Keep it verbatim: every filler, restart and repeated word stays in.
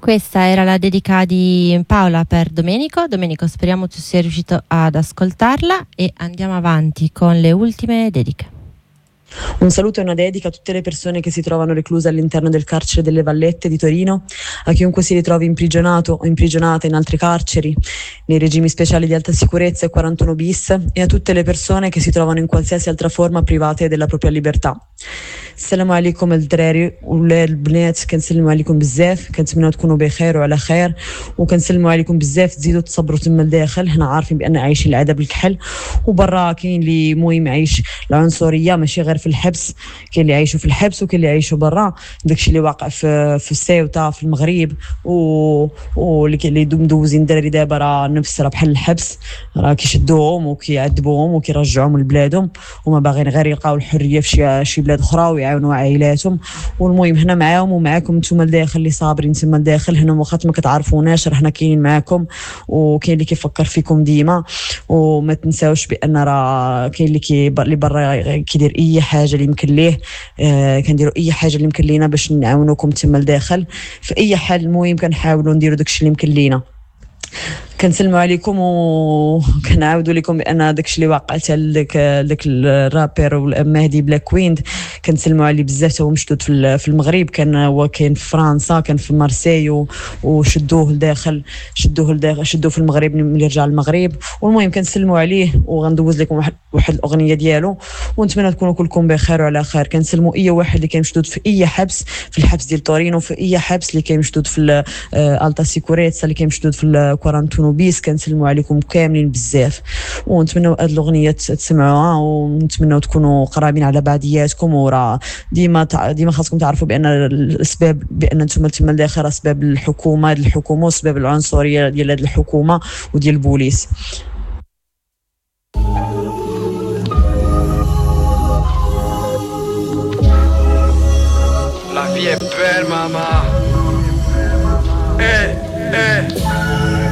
Questa era la dedica di Paola per Domenico. Domenico, speriamo tu sia riuscito ad ascoltarla e andiamo avanti con le ultime dediche. Un saluto e una dedica a tutte le persone che si trovano recluse all'interno del carcere delle Vallette di Torino, a chiunque si ritrovi imprigionato o imprigionata in altre carceri, nei regimi speciali di alta sicurezza e quarantuno bis, e a tutte le persone che si trovano in qualsiasi altra forma private della propria libertà. السلام عليكم الدراري ولا البنات، كنسلموا عليكم بزاف، كنتمناو تكونوا بخير وعلى خير، وكنسلموا عليكم بزاف تزيدوا تصبروا تما لداخل. حنا عارفين بان عايشين العذاب الكحل، وبرا كاين اللي المهم عايش العنصرية ماشي غير في الحبس، كاين اللي عايشوا في الحبس وكاين اللي عايشوا برا. داكشي اللي واقع في في السيوطه في المغرب، و واللي اللي مدوزين الدراري دابا راه نفس راه بحال الحبس، راه كيشدوهم وكيعذبوهم وكيرجعوهم لبلادهم، وما باغيين غير يلقاو الحرية في شي شي بلاد اخرى ويعاونوا عائلاتهم. والمهم هنا معاهم ومعاكم نتوما لداخل اللي صابرين تما لداخل هنا، واخا ما كتعرفوناش راه حنا كاينين معاكم، وكاين اللي كيفكر فيكم ديما. وما تنساوش بان راه كاين اللي كي اللي برا كيدير اي حاجة اللي يمكن ليه، آه كنديروا اي حاجة اللي يمكن لينا باش نعاونوكم تما لداخل في اي حال. المهم كنحاولوا نديروا داكشي اللي يمكن لينا. كنسلموا عليكم وكنعاودوا لكم بان داكشي اللي واقع حتى لذاك داك الرابر والمهدي بلاك ويند، كنسلموا عليه بزاف. هو مشدود في المغرب، كان هو كاين في فرنسا، كان في مارسيل، وشدوه لداخل، شدوه لداخل، شدوه في المغرب ملي رجع للمغرب. والمهم كنسلموا عليه وغندوز لكم واحد واحد الاغنية ديالو، ونتمنى تكونوا كلكم بخير وعلى خير. كنسلموا اي واحد اللي كان مشدود في اي حبس، في الحبس ديال تورينو، في اي حبس اللي كان مشدود في alta sicurezza، اللي كان مشدود في quarantuno bis، كنسلموا عليكم كاملين بزاف، ونتمنوا هاد الاغنية تسمعوها، ونتمنوا تكونوا قرابين على بعضياتكم. وراه ديما ديما خاصكم تعرفوا بان الاسباب بان نتوما تما لداخل اسباب الحكومة، هاد الحكومة، واسباب العنصرية ديال هاد الحكومة وديال البوليس. La vie est belle, maman. Eh, eh.